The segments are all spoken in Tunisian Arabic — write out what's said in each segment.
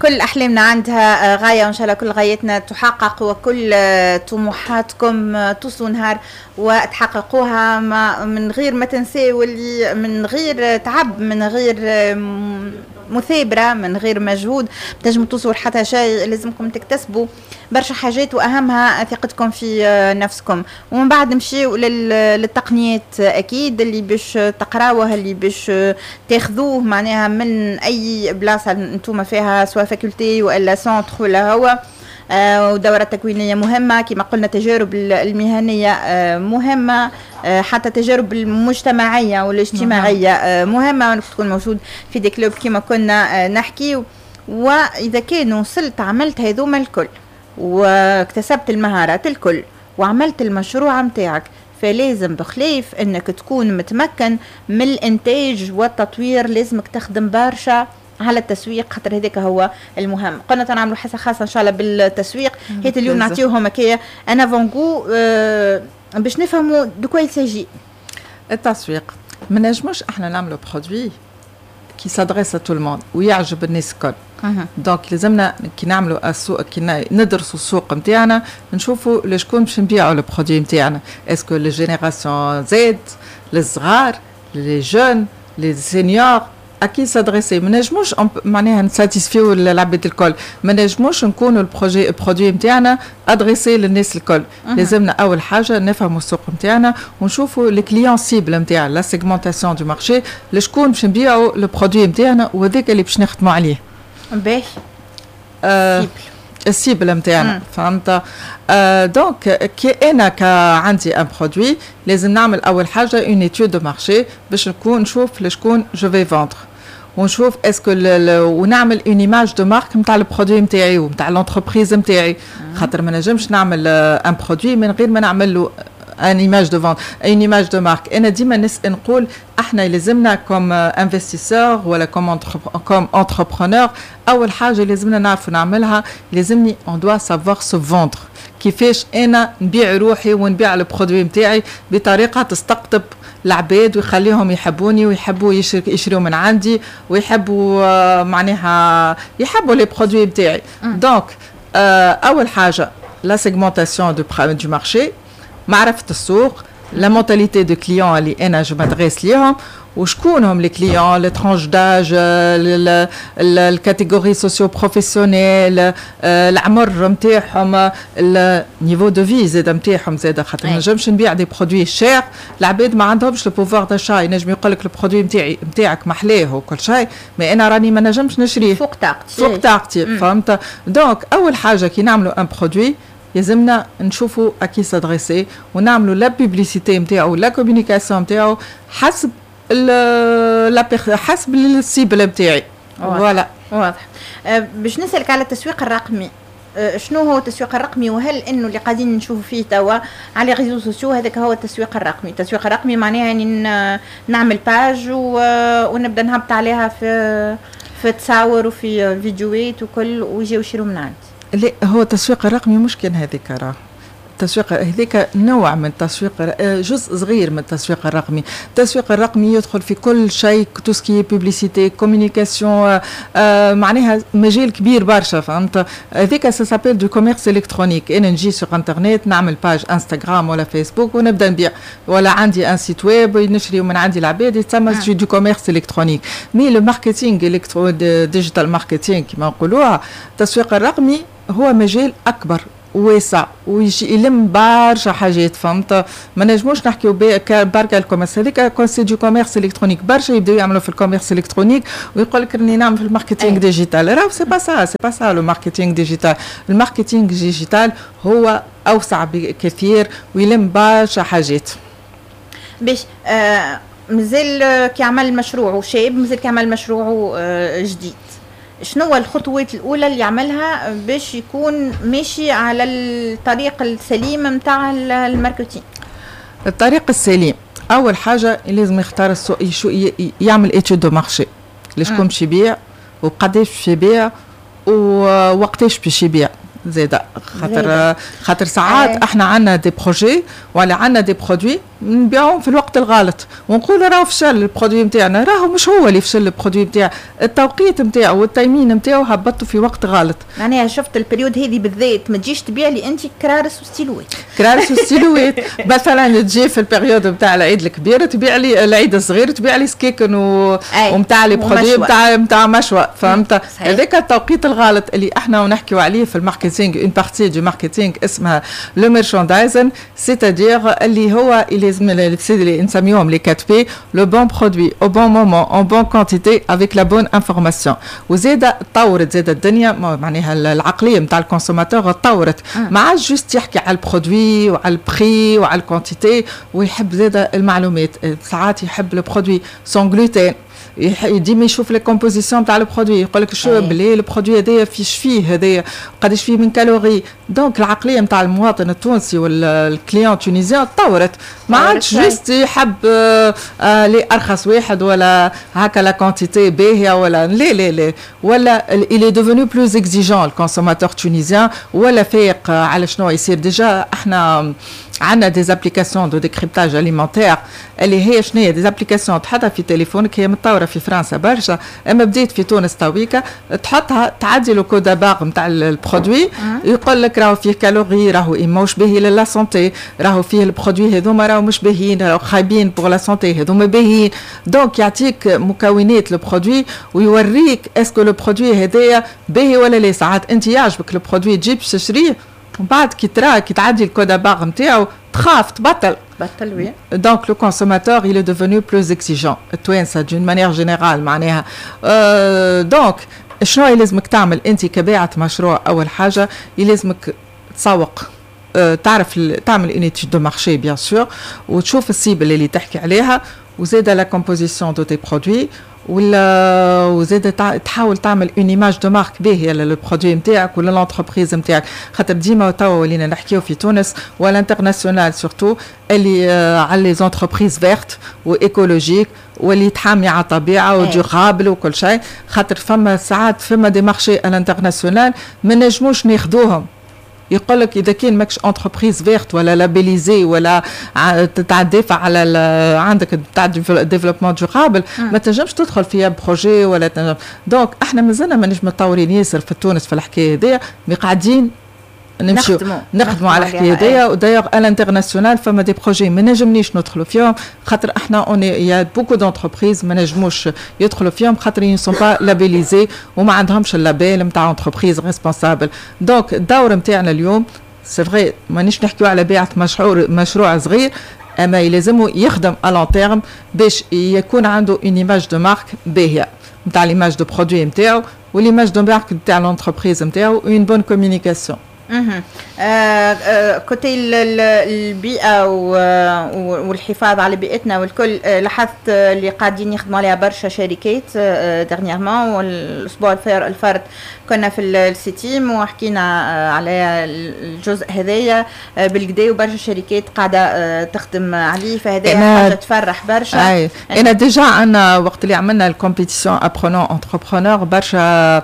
كل احلامنا عندها غايه، وان شاء الله كل غايتنا تحقق، وكل طموحاتكم توصلوا نهار وتحققوها، ما من غير ما تنساو اللي من غير تعب، من غير مثابره، من غير مجهود تنجموا توصلوا لحتى شيء. لازمكم تكتسبوا برشا حاجات واهمها ثقتكم في نفسكم. ومن بعد نمشيو للتقنيات اكيد اللي باش تقراوه، اللي باش تاخذوه معناها من اي بلاصة انتم فيها، سواء faculté والا centre ولا هو ودورة تكوينية مهمة كما قلنا، التجارب المهنية مهمة، حتى التجارب المجتمعية والاجتماعية مهمة، وانك تكون موجود في des clubs كما كنا نحكي. وإذا كان وصلت عملت هذوما الكل واكتسبت المهارات الكل وعملت المشروع متاعك، فلازم بخلاف انك تكون متمكن من الانتاج والتطوير لازمك تخدم برشا على التسويق، خاطر هذاك هو المهم. قلنا نعملوا حصة خاصة ان شاء الله بالتسويق. هيت اليوم نعطيوهم هكايا un avant-goût باش نفهموا de quoi il s'agit. التسويق، ما نجموش احنا نعملوا produit qui s'adresse à tout le monde ويعجب الناس الكل. donc لازمنا كي نعملوا السوق، كي ندرسوا السوق نتاعنا، نشوفوا لشكون باش نبيعوا ال produit نتاعنا، est-ce que les générations Z، للصغار، les jeunes، les seniors، à qui s'adresser. ما نجموش معناها نساتيسفيو العباد الكل، ما نجموش نكونوا ال projet produit نتاعنا adressé للناس الكل. لازمنا اول حاجة نفهموا السوق نتاعنا ونشوفوا les clients cibles نتاعنا، la segmentation du marché، لشكون باش نبيعوا ال produit نتاعنا، وهذاك اللي باش نخدموا عليه. باهي. ال cible نتاعنا، فهمت؟ Donc كي انا عندي un produit لازم نعمل اول حاجة une étude de marché باش نكون نشوف لشكون je vais vendre، ونشوف est-ce que ونعمل une image de marque نتاع ال produit نتاعي ونتاع l'entreprise نتاعي، خاطر ما نجمش نعمل un produit من غير ما نعمل له une image de vente، une image de marque. انا ديما نسال نقول احنا لازمنا comme investisseur ولا comme entrepreneur، اول حاجة لازمنا نعرفوا نعملها، لازمني on doit savoir se vendre، كيفاش انا نبيع روحي ونبيع ال produit نتاعي بطريقة تستقطب العباد ويخليهم يحبوني ويحبوا يشريوا من عندي ويحبوا معناها يحبوا les produits نتاعي. donc اول حاجة la segmentation du marché، معرفة السوق، la mentalité de client اللي انا je m'adresse ليهم، وشكون هم les clients، les tranches d'âge، ال catégorie socio-professionnelle، العمر نتاعهم، ال niveau de vie زاد نتاعهم زاد، خاطر ما نجمش نبيع des produits chers العباد ما عندهمش le pouvoir d'achat. ينجم يقول لك ال produit نتاعي نتاعك محلاه وكل شيء، mais انا راني ما نجمش نشريه. فوق طاقتي. فوق طاقتي، فهمت؟ donc اول حاجة كي نعملوا un produit لازمنا نشوفوا à qui s'adresser ونعملوا la publicité نتاعو، la communication نتاعو حسب ال cible نتاعي، voilà. واضح. باش نسالك على التسويق الرقمي، شنو هو التسويق الرقمي؟ وهل انه اللي قاعدين نشوفوا فيه توا على réseaux sociaux هذاك هو التسويق الرقمي؟ التسويق الرقمي معناها يعني نعمل page ونبدا نهبط عليها في تصاور وفي فيديوهات وكل ويجيو يشروا من عندي. لا، هو التسويق الرقمي مش كان هذيك. راه التسويق هذيك نوع من التسويق، جزء صغير من التسويق الرقمي. التسويق الرقمي يدخل في كل شيء، tout ce qui est publicité، communication، معناها مجال كبير برشا، فهمت؟ هذيك ça s'appelle du commerce électronique. انا نجي sur internet نعمل page انستغرام ولا فيسبوك ونبدا نبيع، ولا عندي un site web نشري من عندي العباد، يتسمى du commerce électronique. mais le marketing digital marketing كما نقولوها، التسويق الرقمي هو مجال اكبر، واسع ويجي يلم برشا حاجات، فهمت؟ ما نجموش نحكيو بركة ال commerce هذيك، c'est du commerce électronique. برشا يبداو يعملوا في ال commerce électronique ويقول لك راني نعمل في ال marketing digital. راهو c'est pas ça، c'est pas ça le marketing digital. ال marketing digital هو اوسع بكثير ويلم برشا حاجات. باش مازال كي عمل مشروعه شاب، مازال كي عمل مشروعه جديد، شنو هو الخطوات الاولى اللي يعملها باش يكون ماشي على الطريق السليم نتاع ال marketing؟ الطريق السليم، اول حاجة لازم يختار السوق، يعمل étude de marché، لشكون باش يبيع وقداش باش يبيع ووقتاش باش يبيع زاده، خاطر ساعات احنا عندنا des projets ولا عندنا des produits نبيعوهم في الوقت الغلط ونقولوا راهو فشل ال produit نتاعنا. راهو مش هو اللي فشل ال produit نتاعو، التوقيت نتاعو وال timing نتاعو هبطوا في وقت غلط. معناها شفت ال période هذه بالذات ما تجيش تبيع لي انت كرارس وستيلوات. كرارس وستيلوات مثلا، تجي في ال période نتاع العيد الكبير تبيع لي، العيد الصغير تبيع لي سكيكن ومتاع les produits نتاع مشوى، فهمت؟ هذاك التوقيت الغلط اللي احنا نحكيو عليه في ال marketing، une partie du marketing اسمها le merchandising، c'est-à-dire اللي هو لازم اللي نسميوهم les 4 P: le bon produit au bon moment en bonne quantité avec la bonne information. وزاد تطورت زاد الدنيا، معناها العقلية نتاع ال consommateur تطورت، ما عادش juste يحكي على ال produit وعلى ال prix وعلى ال quantité، ويحب زاد المعلومات. ساعات يحب le produit sans gluten، ديما يشوف les compositions تاع ال produit، يقول لك شو بلي ال produit هذايا فيش فيه، هذايا قداش فيه من calories. donc العقلية نتاع المواطن التونسي وال client tunisien تطورت، ما عادش juste يحب لي ارخص واحد ولا هكا la quantité باهيه ولا لا لا لا، ولا il est devenu plus exigeant ال consommateur tunisien، ولا فايق على شنو يصير. déjà احنا عندنا des applications de décryptage alimentaire، اللي هي شنو هي؟ des applications تحطها في تليفونك، هي متطورة في فرنسا برشا اما بديت في تونس تويكا. تحطها، تعدي le code à barres نتاع ال produit، يقول لك راهو فيه calories، راهو ماهوش باهي ل la santé، راهو فيه ال produits هذوما راهو مش باهيين، راهو خايبين pour la santé، هذوما باهيين. donc يعطيك مكونات ال produit ويوريك est-ce que le produit هذايا باهي ولا لا. ساعات انت يعجبك ال produit، تجيب تشريه، ومن بعد كي ترى، كي تعدي ال code à barres نتاعو، تخاف، تبطل. بطل، oui. donc le consommateur il est devenu plus exigeant، التوانسة d'une manière générale معناها. Donc شنو يلزمك تعمل انت كباعة مشروع؟ اول حاجة يلزمك تسوق، تعرف تعمل une étude de marché bien sûr، وتشوف ال cible اللي تحكي عليها، وزاد la composition de tes produits، ولا وزاد تحاول تعمل une image de marque باهيه لل produit نتاعك ولا l'entreprise نتاعك، خاطر ديما توا ولينا نحكيو في تونس و l'international surtout اللي على les entreprises vertes و écologiques واللي تحامي على الطبيعة و durable وكل شيء، خاطر فما ساعات فما des marchés à l'international ما نجموش ناخذوهم. يقول لك اذا كان ماكش entreprise verte ولا labellisée ولا تدافع على عندك تاع développement durable، ما تنجمش تدخل فيها projet ولا تنجم. donc احنا مازلنا مانيش متطورين ياسر في تونس في الحكاية هذيا، mais قاعدين نمشيو نخدموا على الحكاية هذيا. و d'ailleurs à l'international فما des projets ما نجمنيش ندخلوا فيهم، خاطر احنا on est y a beaucoup d'entreprises ما نجموش يدخلوا فيهم خاطر ils sont pas labellisés وما عندهمش ال label نتاع entreprise responsable. donc الدور نتاعنا اليوم، c'est vrai مانيش نحكيو على بيعه مشروع صغير، اما يلزمو يخدم à long terme باش يكون عنده une image de marque باهيه نتاع l'image de produit نتاعو و l'image de marque نتاع l'entreprise نتاعو، une bonne communication. Côté البيئة والحفاظ على بيئتنا والكل، لاحظت اللي قاعدين يخدموا عليها برشا شركات dernièrement، والأسبوع الفارط كنا في السيتيم وحكينا على الجزء هذايا بالقدا، وبرشا شركات قاعدة تخدم عليه، فهذا حاجة تفرح برشا. أي. انا déjà عندنا وقت اللي عملنا ال compétition apprenant entrepreneur، برشا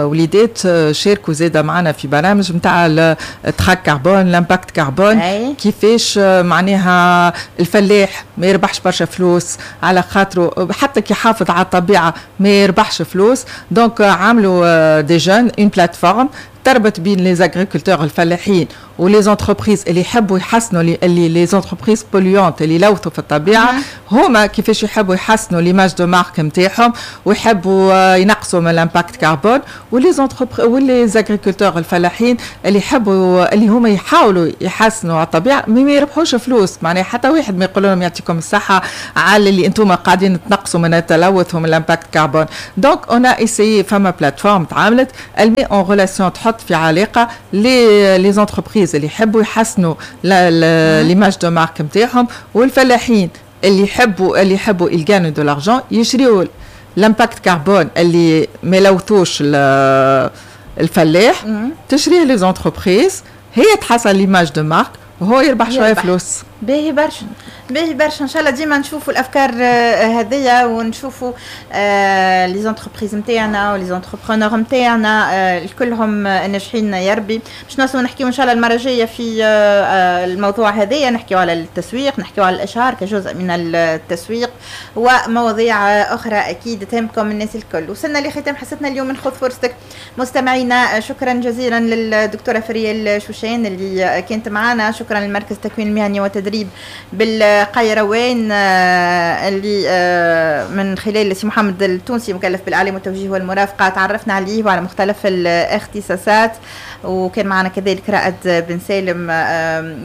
وليدات شاركوا زاده معنا في برامج نتاع ال track carbone، l'impact carbone، كيفاش معناها الفلاح ما يربحش برشا فلوس على خاطره حتى كي يحافظ على الطبيعة ما يربحش فلوس. donc عملوا des jeunes une plateforme تربط بين les agriculteurs الفلاحين و les entreprises اللي يحبوا يحسنوا، اللي les entreprises polluantes اللي يلوثوا في الطبيعه، هما كيفاش يحبوا يحسنوا l'image de marque نتاعهم ويحبوا ينقصوا من l'impact carbone، و les و les agriculteurs الفلاحين اللي يحبوا اللي هما يحاولوا يحسنوا على الطبيعة ما يربحوش فلوس. معناها حتى واحد ما يقول لهم يعطيكم الصحة على اللي انتم قاعدين تنقصوا من التلوث ومن l'impact carbone. donc on a essayé، فما plateforme تعاملت، elle met en relation، تحط في علاقة les entreprises اللي يحبوا يحسنوا l'image de marque نتاعهم والفلاحين اللي يحبوا ils gagnent de l'argent، يشريوا l'impact carbone اللي ما يلوثوش الفلاح. تشريه les entreprises، هي تحسن l'image de marque وهو يربح شوية فلوس. باهي برشا، باهي برشا. ان شاء الله ديما نشوفوا الافكار هذيا ونشوفوا les entreprises نتاعنا و les entrepreneurs نتاعنا الكلهم ناجحين يا ربي. باش نوصلوا نحكيو ان شاء الله المرة الجاية في الموضوع هذايا، نحكيو على التسويق، نحكيو على الاشهار كجزء من التسويق ومواضيع اخرى اكيد تهمكم الناس الكل. وصلنا لختام حصتنا اليوم من خذ فرصتك. مستمعينا، شكرا جزيلا للدكتوره فريال شوشان اللي كانت معنا، شكرا للمركز التكوين المهني والتدريب بالقيروان اللي من خلال سي محمد التونسي مكلف بالاعلام والتوجيه والمرافقه تعرفنا عليه وعلى مختلف الاختصاصات، وكان معنا كذلك رائد بن سالم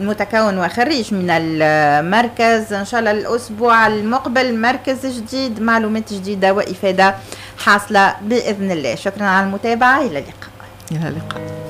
متكون وخريج من المركز. ان شاء الله الاسبوع المقبل مركز جديد، معلومات جديدة وافاده حاصله باذن الله. شكرا على المتابعه، الى اللقاء. الى اللقاء.